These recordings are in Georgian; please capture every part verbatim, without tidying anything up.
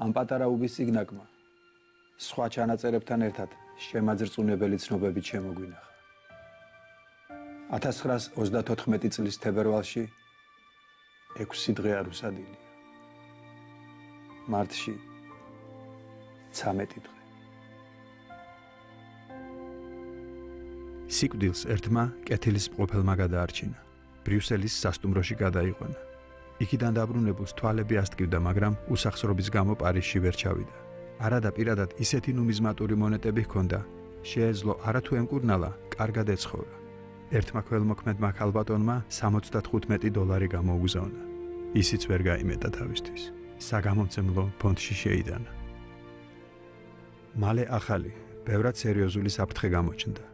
ამ პატარა უბის სიგნაკმა სხვა ჩანაწერებთან ერთად შემაძრწუნებელი ცნობები შემოგვინახა. ათას ცხრაას ოცდათოთხმეტი წლის თებერვალში ექვსი დღე არ უსადილია. მარტში ცამეტი დღე. სიკვდილს ერთმა კეთილის მყოფელმა გადაარჩინა. ბრიუსელის სასტუმროში გადაიყვანა. იქიდან დაბრუნებულს თვალები ასტკივდა, მაგრამ უსახსრობის გამო პარიზში ვერ ჩავიდა. არადა პირადად ისეთი ნუმიზმატური მონეტები ჰქონდა, შეეძლო არათუ ემკურნალა, კარგად ეცხოვრა. ერთმა ქველმოქმედმა ქალბატონმა სამოცდათხუთმეტი დოლარი გამოუგზავნა. ისიც ვერ გაიმეტა თავისთვის. საგამომცემლო ფონდში შეიდანა. მალე ახალი, ბევრად სერიოზული საფრთხე გამოჩნდა.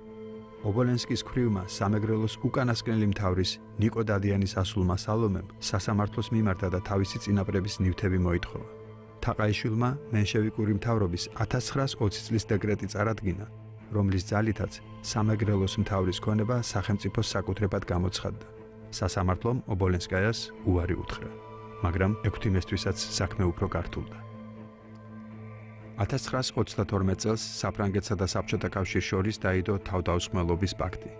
ობოლენსკის ქვრივმა სამეგრელოს უკანასკნელი მთავრის ნიკო დადიანის ასულმა სალომემ სასამართლოს მიმართა და თავისი წინაპრების ნივთები მოითხოვა. თაყაიშვილმა მენშევიკური მთავრობის ათას ცხრაას ოცი წლის დეკრეტი წარადგინა, რომლის ძალითაც სამეგრელოს მთავრის ქონება სახელმწიფოს საკუთრებად გამოცხადდა. სასამართლომ ობოლენსკაიას უარი უთხრა, მაგრამ ექვთიმესთვისაც საქმე უფრო გართულდა. ათას ცხრაას ოცდათორმეტ წელს საფრანგეთსა და საბჭოთა კავშირს შორის დაიდო თავდაუსხმელობის პაქტი.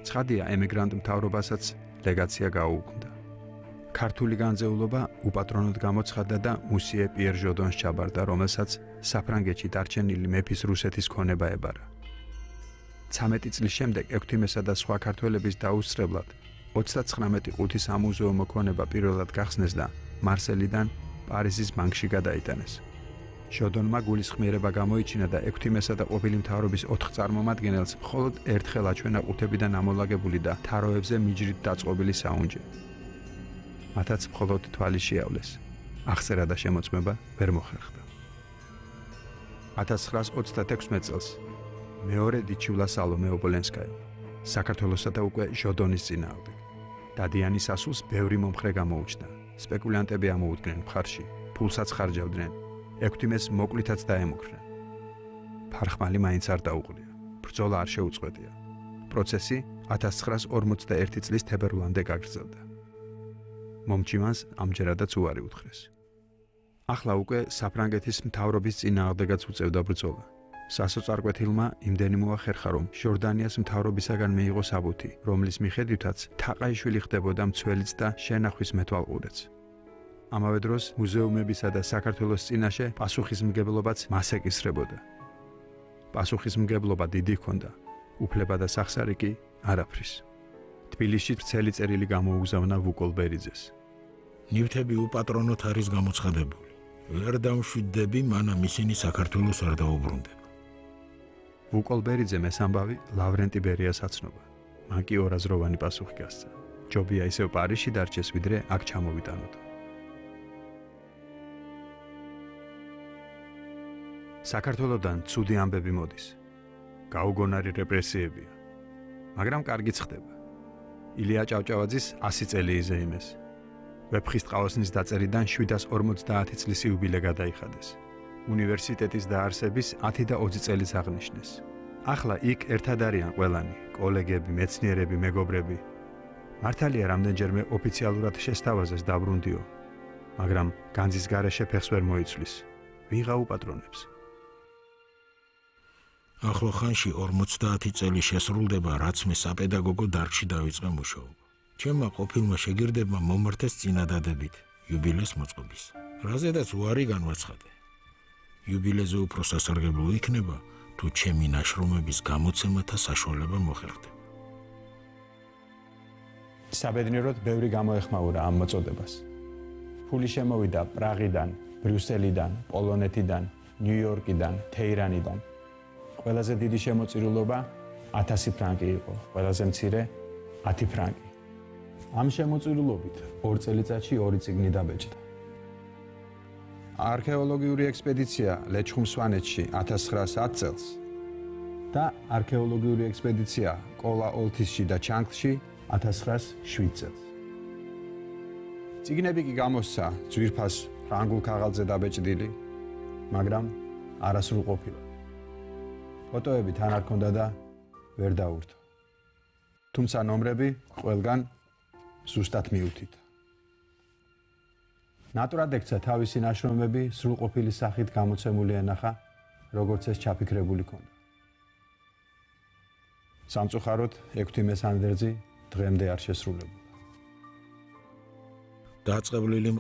ცხადია, ემიგრანტ მთავრობასაც ლეგაცია გაუუქმდა. ქართული განძეულობა უპატრონოდ გამოცხადდა და მუსიე პიერ ჟოდონს ჩაბარდა, რომელსაც საფრანგეთში დარჩენილი მეფის რუსეთის ქონება ებარა. ცამეტი წლის შემდეგ ექვთიმესა და სხვა ქართველების დაუსწრებლად ოცდაცხრამეტი ყუთი სამუზეუმო ქონება პირველად გახსნეს და მარსელიდან პარიზის ბანკში გადაიტანეს. ჟოდონმა გულისხმიერება გამოიჩინა და ექვთიმესა და ყოფილი მთავრობის ოთხ წარმომადგენელს მხოლოდ ერთხელ აჩვენა ყუთებიდან ამოლაგებული და თაროებზე მიჯრით დაწყობილი საუნჯე. მათაც მხოლოდ თვალი შეავლეს. აღწერა და შემოწმება ვერ მოხერხდა. ათას ცხრაას ოცდათექვსმეტ წელს მეორე დიჩივლა სალომე ობოლენსკაია საქართველოსა და უკვე ჟოდონის წინააღმდეგ. დადიანის ასულს ბევრი მომხრე გამოუჩნდა. სპეკულანტები ამოუდგნენ მხარში, ფულსაც ხარჯავდნენ. ექვთიმეს მოკლითაც დაემუქრნენ. ფარხმალი მაინც არ დაუყრია. ბრძოლა არ შეუწყვეტია. პროცესი ათას ცხრაას ორმოცდაერთი წლის თებერვლამდე გაგრძელდა. მომჩივანს ამჯერადაც უარი უთხრეს. ახლა უკვე საფრანგეთის მთავრობის წინააღმდეგაც უწევდა ბრძოლა. სასოწარკვეთილმა იმდენი მოახერხა, რომ ჟორდანიას მთავრობისაგან მიიღო საბუთი, რომლის მიხედვითაც თაყაიშვილი ხდებოდა მცველიც და შენახვის მეთვალყურეც. ამავე დროს მუზეუმებისა და საქართველოს წინაშე პასუხისმგებლობაც მას ეკისრებოდა. პასუხისმგებლობა დიდი ჰქონდა, უფლება და სახსარი კი არაფრის. თბილისში ვრცელი წერილი გამოუგზავნა ვუკოლბერიძეს. ნივთები უპატრონოდ არის გამოცხადებული. ვერ დამშვიდდები, მანამ ისინი საქართველოს არ დაუბრუნდება. ვუკოლბერიძემ ეს ამბავი ლავრენტი ბერიას აცნობა. მან კი ორაზროვანი პასუხი გასცა. ჯობია ისევ პარიზში დარჩეს, ვიდრე აქ ჩამოვიტანოთ. საქართველოდან ცუდი ამბები მოდის. გაუგონარი რეპრესიებია. მაგრამ კარგიც ხდება. ილია ჭავჭავაძის ასი წელი იზეიმეს. ვეფხისტყაოსნის დაწერიდან შვიდას ორმოცდაათი წლის იუბილე გადაიხადეს. უნივერსიტეტის დაარსების ათი და ოცი წელიც აღნიშნეს. ახლა იქ ერთად არიან ყველანი, კოლეგები, მეცნიერები, მეგობრები. მართალია რამდენჯერმე ოფიციალურად შესთავაზეს დაბრუნდიო, მაგრამ განძის გარეშე ფეხს ვერ მოიცვლის. ვიღა უპატრონებს. ახლო ხანში ორმოცდაათი წელი შესრულდება, რაც მე საპედაგოგო დარგში დავიწყე მუშაობა. ჩემმა ყოფილმა შეგირდებმა მომართეს წინადადებით იუბილეს მოწყობის, რაზედაც უარი განვაცხადე. იუბილეზე უფრო სასარგებლო იქნება, თუ ჩემი ნაშრომების გამოცემათა საშუალება მოხერხდება. საბედნიეროდ ბევრი გამოეხმაურა ამ მოწოდებას. ფული შემოვიდა პრაღიდან, ბრიუსელიდან, პოლონეთიდან, ნიუ-იორკიდან, თეირანიდან. ყველაზე დიდი შემოწირულობა ათასი ფრანკი იყო, ყველაზე მცირე ათი ფრანკი. ამ შემოწირულობით ორ წელიწადში ორი წიგნი დაბეჭდა. არქეოლოგიური ექსპედიცია ლეჩხუმ-სვანეთში ათას ცხრაას ათ წელს და არქეოლოგიური ექსპედიცია კოლა-ოლთისში და ჩანგლში ათას ცხრაას შვიდ წელს. წიგნები კი გამოსცა ძვირფას ფრანგულ ქაღალდზე დაბეჭდილი, მაგრამ არასრულ ყოფილა. ფოტოები თან არ ქონდა და ვერ დაურთო. თუმცა ნომრები ყველგან ზუსტად მიუთითა. ნატურად ექცა თავისი ნაშრომები სრულყოფილი სახით გამოცემული ენახა, როგორც ეს ჩაფიქრებული ქონდა. სამწუხაროდ, ექვთიმე მესანდერძი დღემდე არ შესრულებულა. დაწყებლილი